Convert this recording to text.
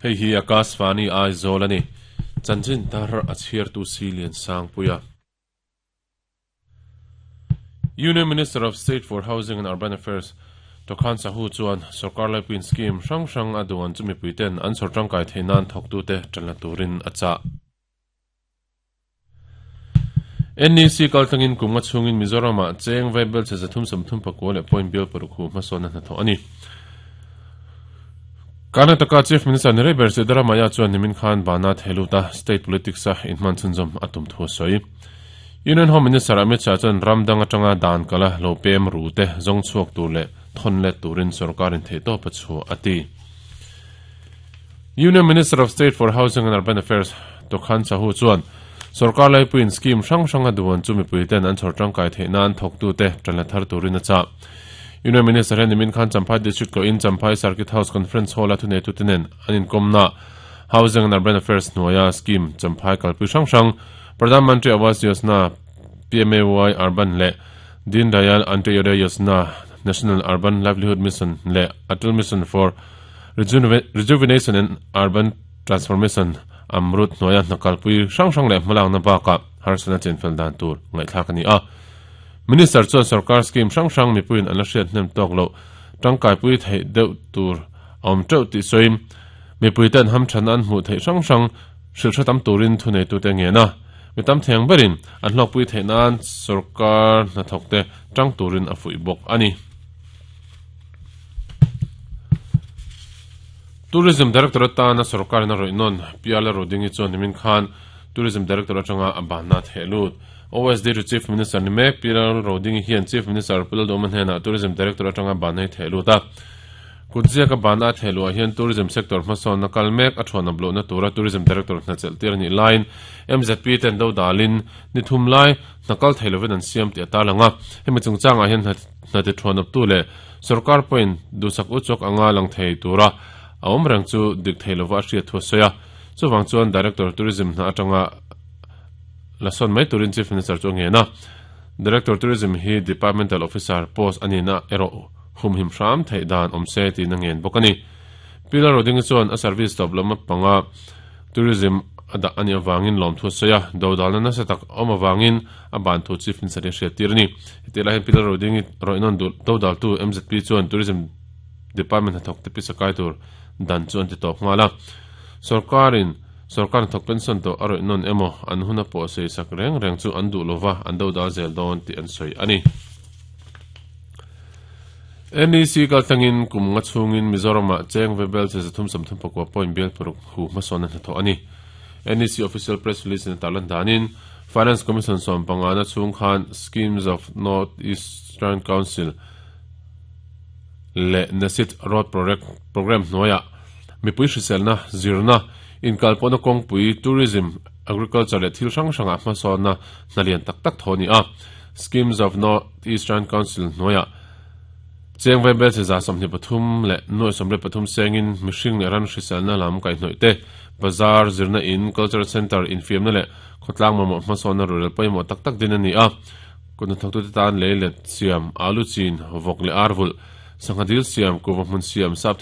Hei hi Akashvani Aizawl a ni. Chanchin tar a chhiartu si Liansangpuia. Union Minister of State for Housing and Urban Affairs Tokhan Sahu chuan sorkar laipuiin scheme hrang hrang a duan chu mipuiten an chhawr tangkai theih nan thawktute tan la turin a chah. NEC kaltlangin kum nga chhungin Mizoramah cheng vaibel che 334 leh point bial paruk hu hmasawnna hnathawh a ni. Karnataka Chief Minister ni rei ber Siddaramaiah chuan nimin khan bana thehlut a, state politics-a inhman chhunzawm a tum thu a sawi. Union Home Minister Amit Shah chuan ram dang atanga dan kala lo pem ru te zawng chhuak tur leh thawn let turin sorkarin theihtawp a chhuah a ti. Union Minister of State for Housing and Urban Affairs Tokhan Sahu chuan sorkar laipuiin scheme hrang hranga duan chu mipuiten an chhawr tangkai theih nan thawktute tan la thar turin a chah. Union Minister hian nimin khan Champhai District tlawhin Champhai Circuit House Conference Hall-a thuneitute nen an inkawmna Housing and Urban Affairs hnuaia scheme Champhai kalpui hrang hrang Pradhan Mantri Awas Yojana, PMAY Urban leh Deen Dayal Antyodaya Yojana, National Urban Livelihood Mission leh Atal Mission for Rejuvenation and Urban Transformation, AMRUT, hnuaia hna kalpui hrang hrang leh hmalakna bakah harsatna chenfel dan tur ngaihthlak a ni a. Minister chuan sorkar scheme hrang hrang mipuiin an la hriat hnem tawk loh tangkaipui theih deuh tur a awm teuh tih sawiin mipuiten hamthanna an hmuh theih hrang hrang Hrilh hre tam turin thuneitute ngen a, mi tam theng berin an hlawkpui theih nan sorkar hnathawkte tang turin a fuih bawk a ni. Tourism Director atana sorkarin a rawih nawn Piala Rodingi chuan nimin khan Tourism Director atanga a banna theh lut. OSD to Chief Minister ni mek Piala Rodingi hian Chief Minister Pu Lalduhoma hnenah Tourism Director atanga banna hi theh lut a. Kutziaka bana a theh luah hian tourism sector hmasawnna kal mek a thuan a blohna tura Tourism Director hna chelh tir a nih laiin mzp ten do dalin ni thum lai hna kal thei lovin an siam tih a tarlang a. Hemi chungchangah hian hna ti thuan awptu leh sorkar pawhin duhsak uchawk anga lang thei tura a awm reng chu dik thei lova a hriat thu a sawi a. Chuvang chuan Director Tourism hna atanga la sawn mai turin Chief Minister chu a ngen a. Director Tourism hi Departmental Officer post a nihna erawh humhim hram theih dan awm se tiin a ngen bawk a ni. Pilar Rodingi chuan a service tawp lam panga tourism a dah a nih avangin lawmthu a sawi a, dodalna nasa tak a awm avangin a ban thu Chief Minister hi a hriattir a ni. Hetihlai hian Pilar Rodingi rawihnawn duh dodaltu mzp chuan Tourism Department hnathawk te pisa kai tur dan chu an ti tawp nghal a. Sorkarin sorkar hnathawk pension tawh a rawihnawn emaw an hun a pawh sawisak reng reng chu an duh lova an dodal zel dawn tih an sawi a ni. NEC kaltlangin kum nga chhungin Mizoramah cheng ve bel che 339 point bial paruk hu hmasawnna hnathawh a ni. NEC official press release in a tarlan danin Finance Commission sawmpangana chhung khan Schemes of North Eastern Council leh NESIT Road Programme hnuaiah mipui hriselna, zirna, inkalpawhna kawngpui, tourism, agriculture leh thil hrang hrangah hmasawnna hna lian tak tak thaw a ni a. Schemes of North Eastern Council hnuaiah cheng vaibel che 23 leh nuai 73 sengin mihring leh ran hriselna lam kaihhnawih te, bazar, zirna in, cultural centre, infiamna leh khawtlang mamawh hmasawnna rorel pawimawh tak tak din a ni a. Kut hnathawktute tan lei let siam, alu chin, vawk leh ar vulh, sangha dil siam, kuhva hmun siam, sap.